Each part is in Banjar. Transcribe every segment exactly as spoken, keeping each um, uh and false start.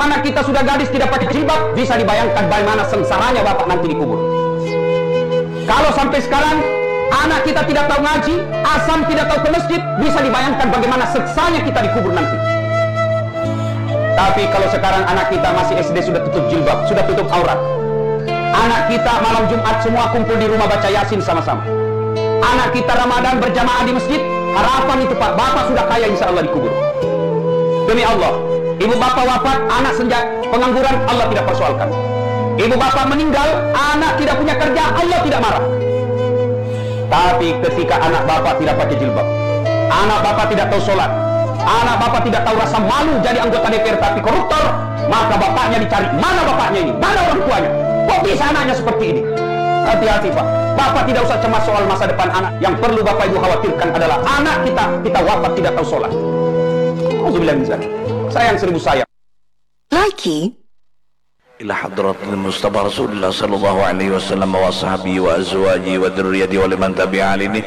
anak kita sudah gadis tidak pakai jilbab, bisa dibayangkan bagaimana sengsaranya bapak nanti dikubur. Kalau sampai sekarang anak kita tidak tahu ngaji, asam tidak tahu ke masjid, bisa dibayangkan bagaimana sengsaranya kita dikubur nanti. Tapi kalau sekarang anak kita masih S D sudah tutup jilbab, sudah tutup aurat. Anak kita malam Jumat semua kumpul di rumah baca Yasin sama-sama. Anak kita Ramadan berjamaah di masjid, harapan itu Pak, bapak sudah kaya insya Allah dikubur. Demi Allah, ibu bapak wafat, anak senja, pengangguran, Allah tidak persoalkan. Ibu bapak meninggal, anak tidak punya kerja, Allah tidak marah. Tapi ketika anak bapak tidak pakai jilbab, anak bapak tidak tahu sholat, anak bapak tidak tahu rasa malu jadi anggota D P R tapi koruptor, maka bapaknya dicari, mana bapaknya ini, mana orang tuanya, kok bisa anaknya seperti ini? Hati-hati Pak, bapak tidak usah cemas soal masa depan anak, yang perlu bapak ibu khawatirkan adalah anak kita, kita wafat tidak tahu sholat. Alhamdulillah. Sayang seribu sayang. Lagi. Ila hadratil Mustafa Rasulillah sallallahu alaihi wasallam wa sahbihi wa azwaji wa dzurriyyati wa liman tabi'a alini,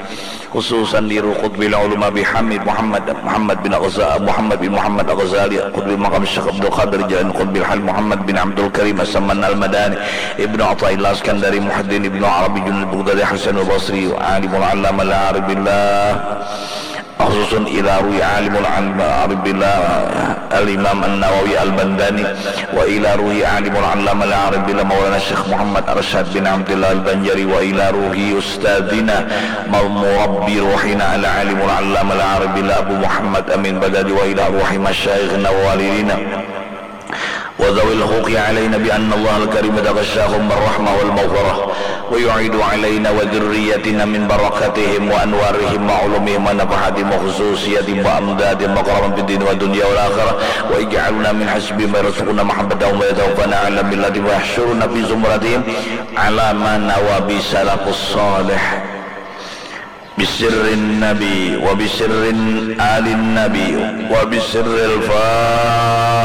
khususan li Qutbil Ulum Abi Hamid Muhammad Muhammad bin Ghazali Muhammad bin Muhammad Al-Ghazali Qutbil Maqam Syekh Abdul Qadir Jain Qutbil Hal Muhammad bin Abdul Karim As-Saman Al-Madani Ibnu Athaillah Iskandari Muhyiddin Ibnu Arabi Junaid Bughdadi Hasan Al-Basri Alimul Allamah Al-Arif Billah. Khususun ila ruwi alimul arif billah Al-Imam An-Nawawi Al-Bandani, wa ila ruhi alimul allamah al-arif billah Maulana Syekh Muhammad Arsyad bin Abdillah Al-Banjari, wa ila ruhi ustadzina murabbi ruhina al-alimul allamah al-arif billah Abu Muhammad Amin Badadi, wa ila ruhi masyayikhina wa walidina. وذوي الحقوق علينا بأن الله الكريم تغشاهم بالرحمة والمغفرة ويعيد علينا وذريتنا من بركاتهم وأنوارهم وعلومهم ونفحاتهم وخصوصياتهم وأمدادهم وكرمهم في الدين والدنيا والآخرة ويجعلنا من حزبهم ويرزقنا محبتهم ويتوفنا على ملتهم ويحشرنا في زمرتهم على ما نوى به السلف الصالح. Bisirrin nabi wa bisirrin alin nabi wa bisirril fatihah.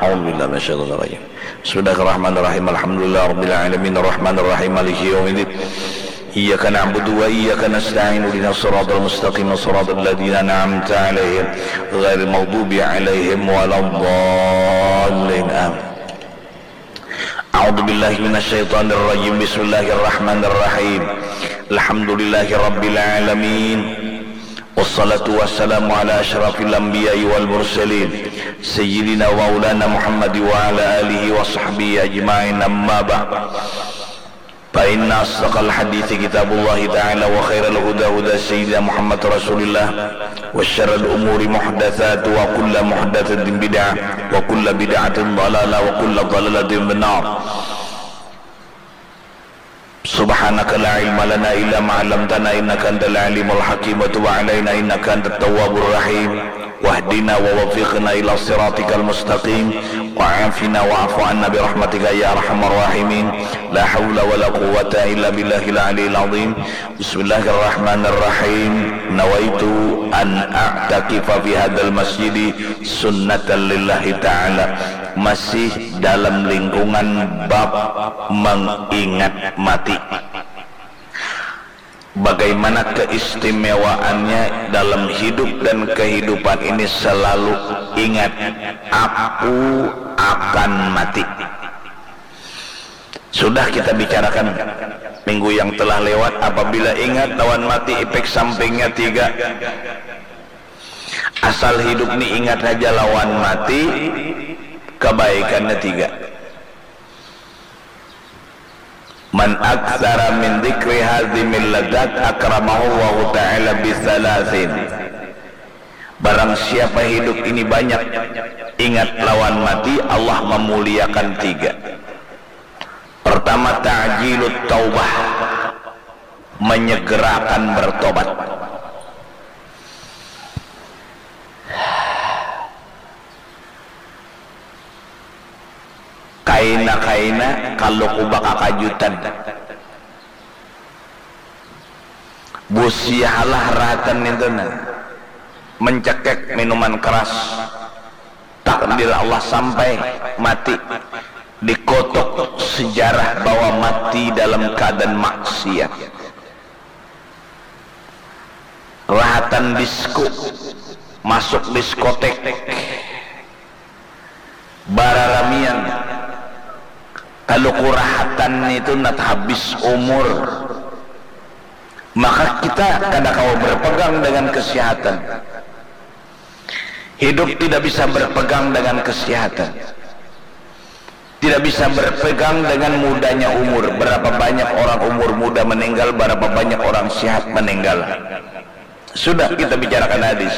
A'udzubillahi minasyaitonir rajim. Bismillahirrahmanirrahim. Alhamdulillah rabbil alamin. Arrahmanirrahim. Maliki yaumiddin. Iyyaka na'budu wa iyyaka nasta'in. Ihdinas siratal mustaqim. Siratal ladzina an'amta 'alaihim ghairil maghdubi 'alaihim waladdallin. Amin. A'udzubillahi minasyaitonirrajim. Bismillahirrahmanirrahim. Alhamdulillahirabbil alamin. Wassalatu wassalamu ala asyrafil anbiya'i wal mursalin, sayyidina wa maulana Muhammad wa ala alihi wa sahbihi ajma'in. Amma ba'd. Fa inna asdaqal hadithi kitabullahi ta'ala wa khairal huda huda sayyidina Muhammad Rasulillah wa syarril umuri muhdatsatuha wa kullu muhdatsatin bid'ah wa kullu bid'atin dhalalah wa kullu dhalalatin finnar. Subhanaka la ilma lana illa ma 'allamtana innaka antal alimul hakim wa tub 'alaina innaka antat tawwabur rahim. Wahdina wa waffiqna ila siratikal mustaqim wa afina wa'fu anna bi rahmatika ya arhamar rahimin. La haula wala quwwata illa billahil aliyil azim. Bismillahirrahmanirrahim. Nawaitu an a'takifa fi hadzal masjidi sunnatan lillahi ta'ala. Masih dalam lingkungan bab mengingat mati. Bagaimana keistimewaannya dalam hidup dan kehidupan ini selalu ingat, aku akan mati. Sudah kita bicarakan minggu yang telah lewat, apabila ingat lawan mati, efek sampingnya tiga. Asal hidup ni ingat haja lawan mati, kebaikannya tiga. Man aktsara min dzikri hadzimil ladzat akramahullahu ta'ala bitsalatsin. Barang siapa hidup ini banyak ingat lawan mati, Allah memuliakan tiga. Pertama, ta'jilut taubah, menyegerakan bertobat. Kaina-kaina kaluku bakakajutan. Busiahalah rahatan nintu nah, mencekek minuman keras. Takdir Allah sampai mati, dikutuk sejarah bahwa mati dalam keadaan maksiat. Rahatan disku, masuk diskotek, Kalau kurahatan itu nat habis umur, maka kita kada kawa berpegang dengan kesehatan. Hidup tidak bisa berpegang dengan kesehatan. Tidak bisa berpegang dengan mudanya umur. Berapa banyak orang umur muda meninggal, berapa banyak orang sehat meninggal. Sudah kita bicarakan hadis.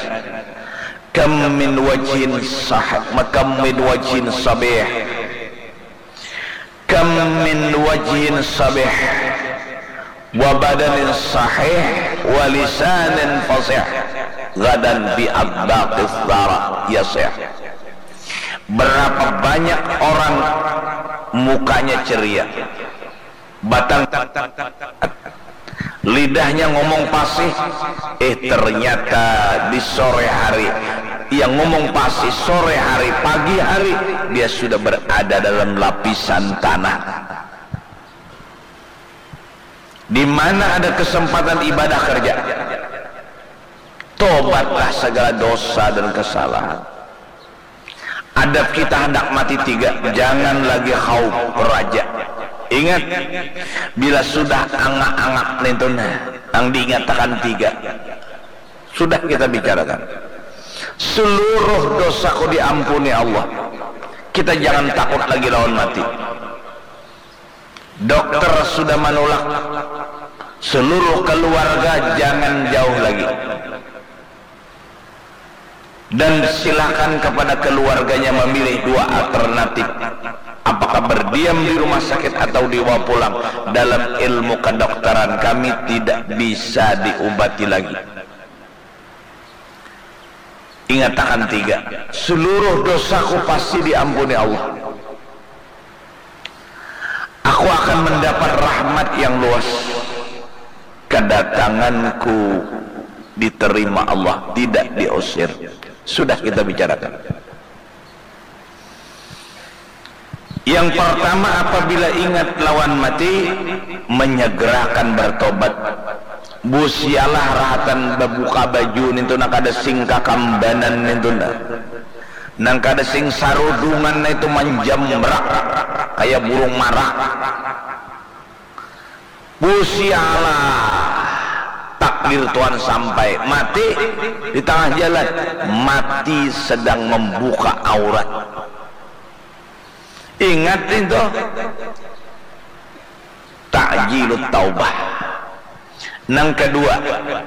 Kam min wajhin sah, kam min wajhin sabih. Kam min wajhin sabih wa badanin sahih wa lisanin fasih gadan bi atbaqis sara yasih. Berapa banyak orang mukanya ceria, batang lidahnya ngomong pasih, eh, ternyata di sore hari, yang ngomong pasih sore hari, pagi hari, dia sudah berada dalam lapisan tanah. Di mana ada kesempatan ibadah, kerja. Tobatlah segala dosa dan kesalahan. Adab kita handak mati tiga, jangan lagi khaup raja. Ingat, bila sudah angak-angak nintun, nang diingatakan tiga. Sudah kita bicarakan. Seluruh dosaku diampuni Allah. Kita jangan takut lagi lawan mati. Dokter sudah manulak. Seluruh keluarga jangan jauh lagi. Dan silakan kepada keluarganya memilih dua alternatif. Apakah berdiam di rumah sakit atau dibawa pulang? Dalam ilmu kedokteran kami tidak bisa diubati lagi. Ingatakan tiga, seluruh dosaku pasti diampuni Allah. Aku akan mendapat rahmat yang luas. Kedatanganku diterima Allah, tidak diusir. Sudah kita bicarakan. Yang pertama, apabila ingat lawan mati, menyegerakan bertobat. Busialah rahatan babuka baju nintu, nang kada sing kakambanan nintu nah. Nang kada sing sarudungan nah itu manjamrak kaya burung marak. Busialah takdir Tuhan sampai mati di tangah jalan, mati sedang membuka aurat. Ingat itu, ta'jilut taubah. Nang kedua,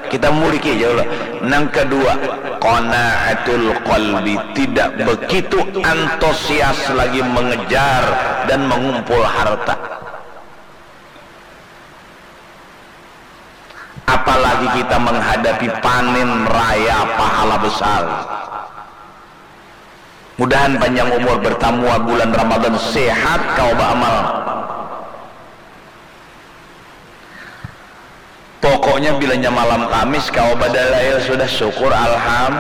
kita muliki aja lah. Nang kedua, qanaatul qalbi, tidak begitu antusias lagi mengejar dan mengumpul harta. Apalagi kita menghadapi panen raya pahala besar. Mudahan panjang umur, bertamu bulan Ramadan, sehat, kawa baamal. Pokoknya bilanya malam Kamis kawa badalail sudah, syukur, alham.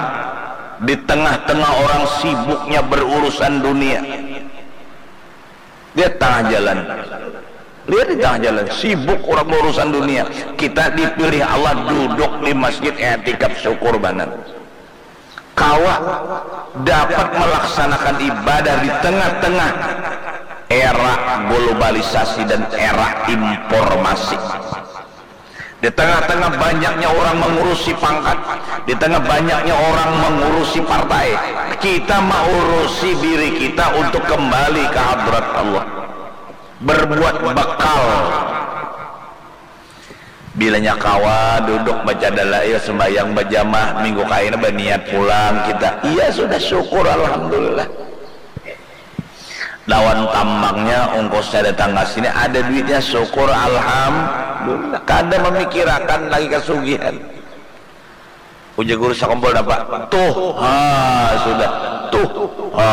Di tengah-tengah orang sibuknya berurusan dunia, lihat tengah jalan, lihat di tengah jalan, sibuk orang berurusan dunia. Kita dipilih Allah duduk di masjid, etikaf, syukur banar. Kawa dapat melaksanakan ibadah di tengah-tengah era globalisasi dan era informasi. Di tengah-tengah banyaknya orang mengurusi pangkat, di tengah banyaknya orang mengurusi partai, kita mengurusi diri kita untuk kembali ke hadrat Allah, berbuat bekal. Bilanya kawa duduk baca dalail, sembahyang bajamaah, minggu kaina baniat pulang kita. Iya, sudah syukur, alhamdulillah. Lawan tambangnya, ongkosnya datang ka sini, ada duitnya, syukur, alhamdulillah. Kada mamikirakan lagi kasugihan. Ujar guru sakumpul napa? Tuh, ha, sudah. Tuh, ha.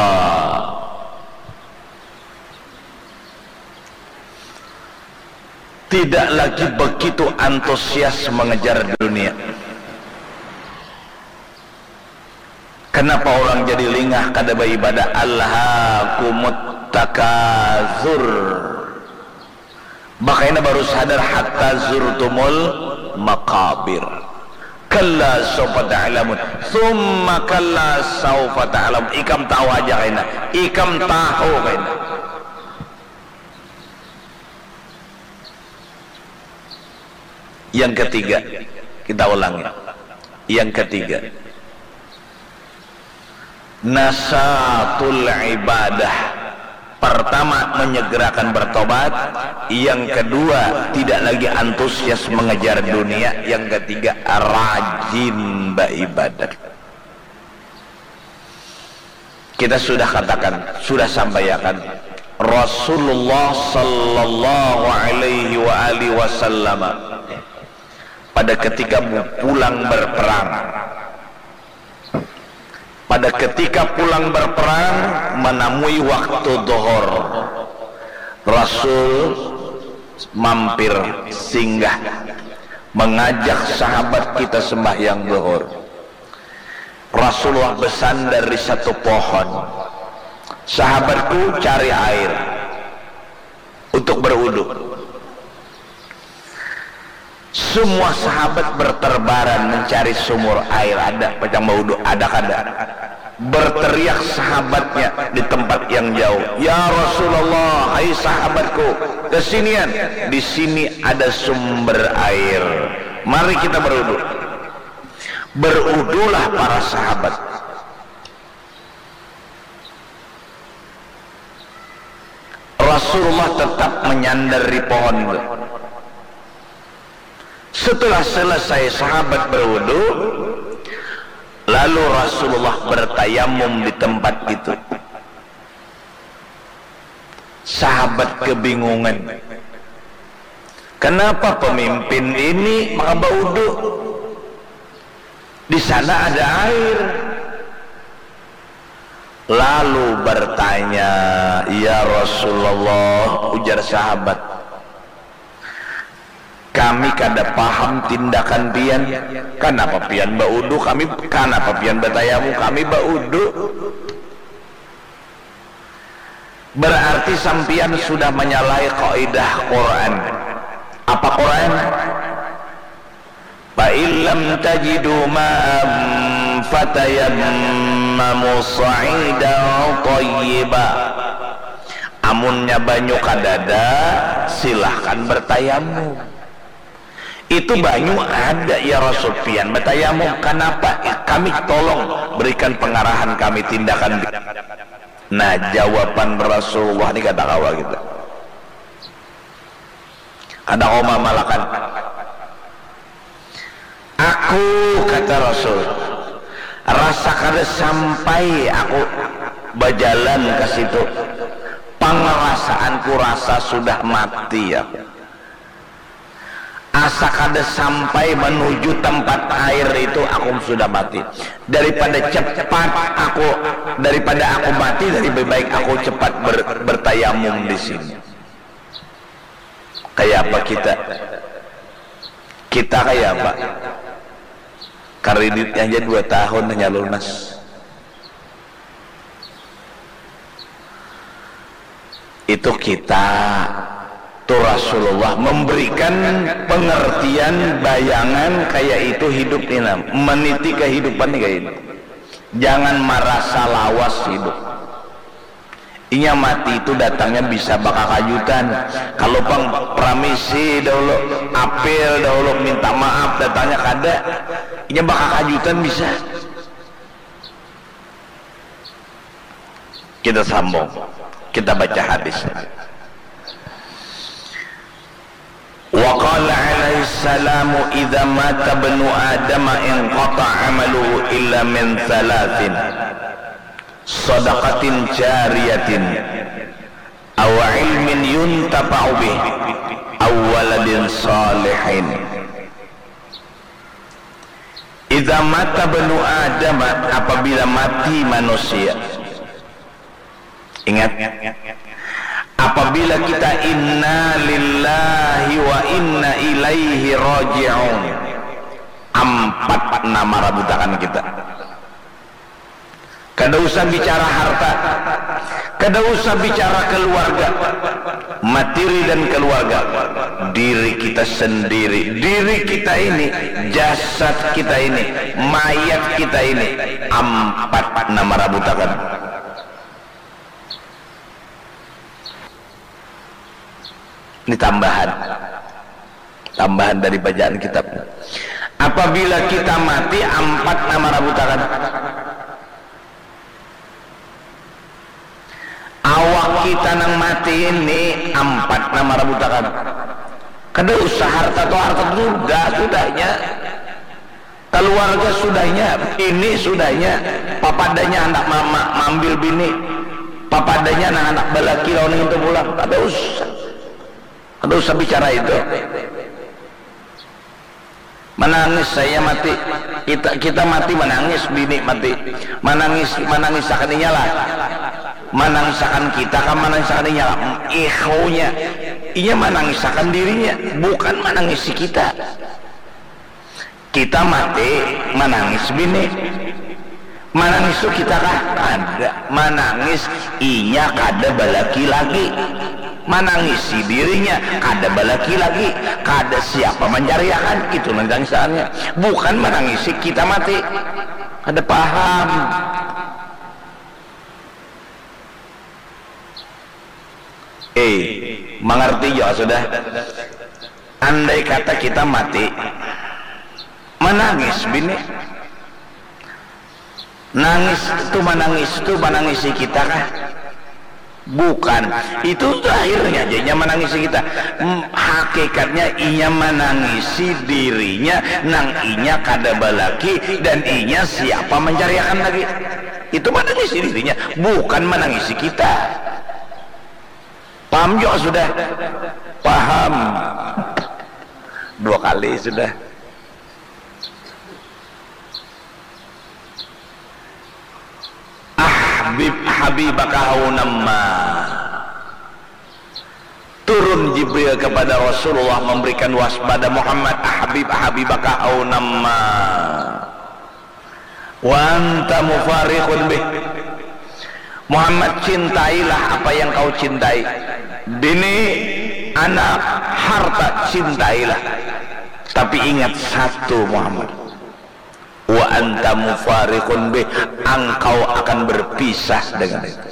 Tidak lagi begitu antusias mengejar dunia. Kenapa orang jadi lingah kada baibadah? Alhaakumut takatsur. Bakaina baru sadar, hatta zurtumul maqabir. Kalla saufa ta'lamun. Tsumma kalla saufa ta'lamun. Ikam tahu aja kaina. Ikam tahu kaina. Yang ketiga, kita ulangi. Yang ketiga, nasatul ibadah. Pertama, menyegerakan bertobat. Yang kedua, tidak lagi antusias mengejar dunia. Yang ketiga, rajin beribadat. Kita sudah katakan, sudah sampaikan, Rasulullah sallallahu alaihi wa alihi wasallam pada ketika pulang berperang, pada ketika pulang berperang, menemui waktu dohor, Rasul mampir, singgah, mengajak sahabat kita sembahyang dohor. Rasulullah bersandar di satu pohon. Sahabatku cari air untuk berwudu. Semua sahabat berterbaran mencari sumur air, ada pacang bawudu, ada kada. Berteriak sahabatnya di tempat yang jauh, "Ya Rasulullah, hai sahabatku, kesinian, di sini ada sumber air. Mari kita berwudu." Berudulah para sahabat. Rasulullah tetap menyandar di pohon itu. Setelah selesai sahabat berwudu, lalu Rasulullah bertayamum di tempat itu. Sahabat kebingungan. Kenapa pemimpin ini maka baudu? Di sana ada air. Lalu bertanya, "Ya Rasulullah," ujar sahabat, "kami kada paham tindakan pian. Kanapa pian baudu, kami, kanapa pian batayamum, kami baudu?" Berarti sampian sudah menyalahi kaidah Quran. Apa Quran? "Fa in lam tajidu ma'an fatayammamu sa'idan thayyiba." Amunnya banyu kadada, silahkan bertayamum. Itu banyu ada, ya Rasul, pian batayamum. Kanapa? Kami tolong berikan pengarahan kami tindakan. Nah, jawaban Rasulullah ni kada kawa kita. Kada kawa mamalakan. Aku, kata Rasul, rasa kada sampai aku bajalan ke situ. Pangarasaanku rasa sudah mati aku. Asa kada sampai menuju tempat air itu, aku sudah mati. Daripada cepat aku, daripada aku mati, lebih baik aku cepat ber, bertayamum di sini. Kaya apa kita? Kita kaya apa? Kreditnya aja dua tahun hanya lunas. Itu kita, tu Rasulullah memberikan pengertian, bayangan kaya itu hidup ni, nah, meniti kehidupan ni kaya ini. Jangan marasa lawas hidup. Inya mati itu datangnya bisa bakakajutan. Kalau pang pramisi dahulu, apil dahulu, minta maaf, datangnya kada. Inya bakakajutan bisa. Kita sambung. Kita baca hadis. Wa qala alaihi salamu, "Idza mata ibnu Adam inqata amaluhu illa min thalathin. Sadaqatin jariyatin, aw ilmin yuntafa'u bih, aw waladin salihin." Idza mata ibnu Adam, apabila mati manusia. Ingat, apabila kita inna lillahi wa inna ilaihi raji'un, ampat nama rabutakan kita. Kada usah bicara harta, kada usah bicara keluarga, materi dan keluarga, diri kita sendiri, diri kita ini, jasad kita ini, mayat kita ini, ampat nama rabutakan. Ini tambahan. Tambahan dari bacaan kitab. Apabila kita mati, ampat nama rabutakan. Awak kita nang mati ini ampat nama rabutakan. Kada usah harta tu, harta tu sudah, sudahnya. Keluarga sudahnya, bini sudahnya. Papadanya handak ma-, ma-, maambil bini. Papadanya nang handak balaki lawan itu pulang. Kada usah. Kada usah bicara itu. Manangis saya mati. Kita, kita mati manangis, bini mati. Manangis, manangisakan inya lah. Manangisakan kita kah, manangisakan inya lah. Ikhaunya. Inya manangisakan dirinya, bukan manangisi kita. Kita mati, manangis bini. Manangis tu kita kah? Kada. Manangis inya kada balaki lagi. Manangisi dirinya kada balaki lagi. Kada siapa mancariakan. Itu nang tangisannya. Bukan manangisi kita mati. Kada paham. Eh, mangarti jua sudah. Andai kata kita mati, manangis bini. Nangis tu, manangis tu, manangisi kita kah? Bukan. Itu akhirnya aja inya manangisi kita. Hmm, hakikatnya inya manangisi dirinya nang inya kada balaki dan inya siapa mancariakan lagi. Itu manangisi dirinya, bukan manangisi kita. Paham jua sudah? Paham. Dua kali sudah. Ahbib habibaka haunamma. Turun Jibril kepada Rasulullah memberikan waspada, Muhammad, ahbib habibaka haunamma. Wa anta mufariqun bih. Muhammad, cintailah apa yang kau cintai. Bini, anak, harta, cintailah. Tapi ingat satu, Muhammad. Wa anta mufariqun bih, engkau akan berpisah dengan itu.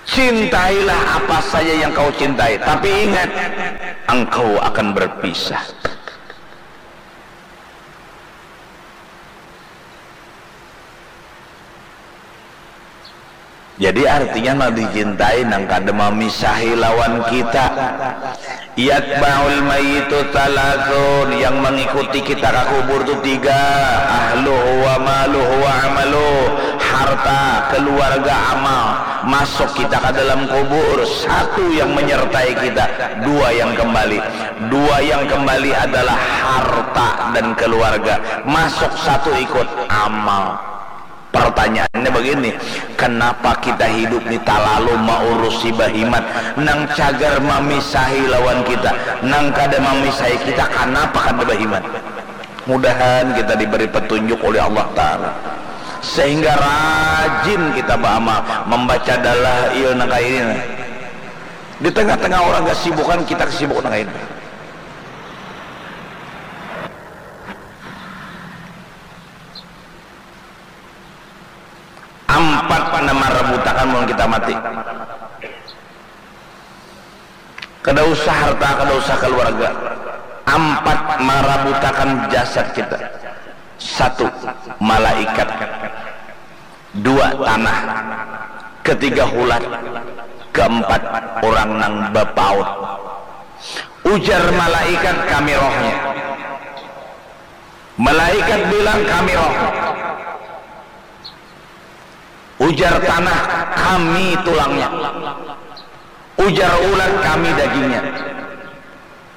Cintailah apa saja yang kau cintai, tapi ingat, engkau akan berpisah. Jadi artinya nang dicintai nang kada mamisahi lawan kita. Yatba'ul mayyitu thalathun, yang mengikuti kita ka kubur tu tiga, ahluhu wa maluhu wa amaluh, harta, keluarga, amal. Masuk kita ka dalam kubur, satu yang menyertai kita, dua yang kembali. Dua yang kembali adalah harta dan keluarga. Masuk satu ikut, amal. Pertanyaannya begini, kenapa kita hidup ni talalu maurusi bahimat nang cagar mamisahi lawan kita, nang kada mamisahi kita, kanapa kada bahimat? Mudahan kita diberi petunjuk oleh Allah Ta'ala sehingga rajin kita beramal, membaca dalail nang kaya ini. Di tengah-tengah orang kesibukan, kita kesibuk nang kaya ini. Ampat nama rabutakan mun kita mati. Kada usah harta, kada usah keluarga. Ampat marabutakan jasad kita. Satu, malaikat. Dua, tanah. Ketiga, hulat. Keempat, orang nang bapaut. Ujar malaikat, kami rohnya. Malaikat bilang, kami roh. Ujar tanah, kami tulangnya. Ujar ulat, kami dagingnya.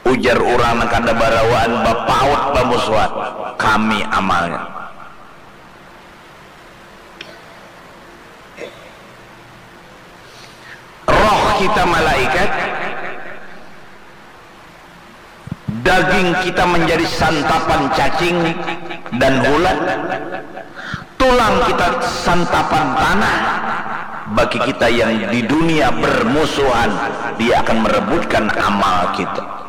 Ujar urang nang kada barawaan, bapaut, bamusuhan, kami amalnya. Roh kita malaikat, daging kita menjadi santapan cacing dan hulat, tulang kita santapan tanah. Bagi kita yang di dunia bermusuhan, dia akan merebutkan amal kita.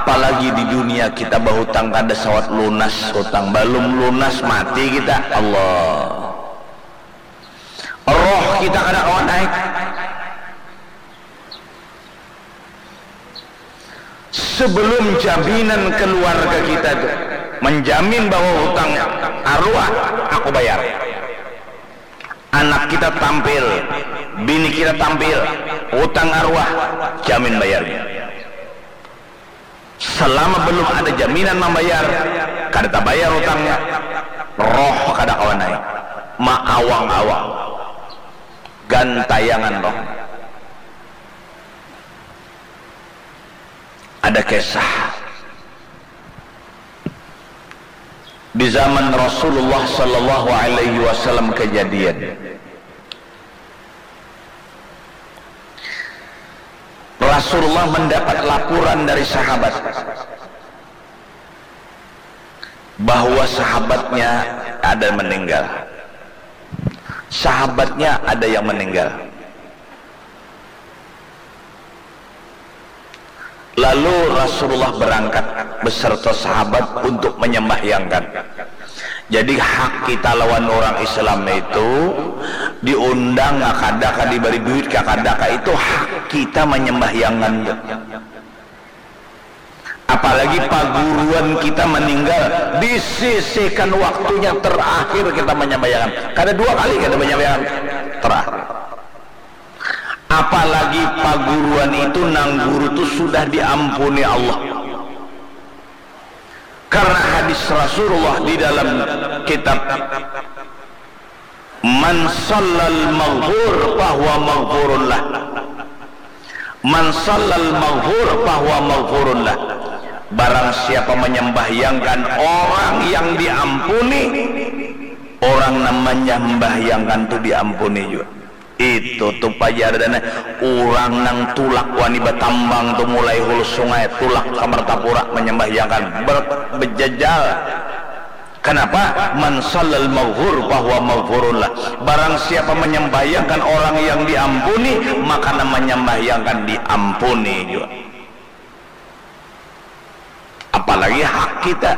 Apalagi di dunia kita bahutang kada sawat lunas hutang, balum lunas mati kita, Allah. Roh kita kada kawa naik. Sebelum jaminan keluarga kita tu menjamin bahwa hutang arwah aku bayar. Anak kita tampil, bini kita tampil, hutang arwah jamin bayarnya. Selama belum ada jaminan membayar, kada tabayar utangnya, roh kada kawa naik, maawang-awang, gantayangan roh. Ada kisah di zaman Rasulullah sallallahu alaihi wasallam kejadian. Rasulullah mendapat laporan dari sahabat bahwa sahabatnya ada meninggal. Sahabatnya ada yang meninggal. Lalu Rasulullah berangkat beserta sahabat untuk menyembahyangkan. Jadi hak kita lawan orang Islam itu diundang kakadaka, diberi duit kakadaka, itu hak kita menyembahyangkan. Apalagi paguruan kita meninggal, disisihkan waktunya terakhir kita menyembahyangkan. Kada dua kali kita menyembahyangkan terakhir. Apalagi paguruan itu nang guru tu sudah diampuni Allah. Karena hadis Rasulullah di dalam kitab, "Man sallal maghfur fahuwa maghfurun lah." "Man sallal maghfur fahuwa maghfurun lah." Barang siapa menyembahyangkan orang yang diampuni, orang nang menyembahyangkan tu diampuni juga. Itu tu pajar dana urang nang tulak wani batambang tu mulai hulu sungai tulak ka Martapura manyambahyangkan ber-, bejajal. Kanapa? "Man sallal maghfur fahuwa maghfurun lah." Barang siapa manyambahyangkan orang yang diampuni, maka nang manyambahyangkan diampuni jua. Apalagi hak kita,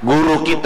guru kita.